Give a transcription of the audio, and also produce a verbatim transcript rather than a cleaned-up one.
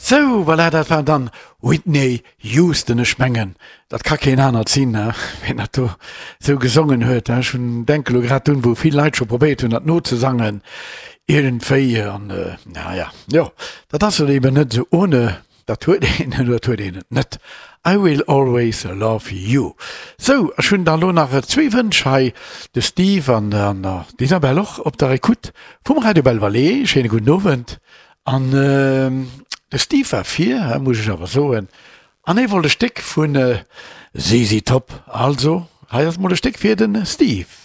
Sou, voilà, dat war dann Whitney Houston. Ech mengen, dat ka keen anert sinn, ween dat do sou gesongen huet. Ech hunn, denke lo grad un, wou vill Leit scho probéiert hunn, dat nozesangen iergendwéi. An naja, jo, dat ass eben net sou ohne. Dat huet een, dat huet een et net. I will always love you. Sou, ech hunn da lo nach zwee Wënsch hei, de Steve an an d'Isabelle och op der Ecoute vum Radio Belle Vallée. Schéine gudden Owend. An de Steve war vir, muss ech awer soen, an hie wollt e Stéck vun Z Z Top. Also, hei ass mol e Stéck fir de Steve.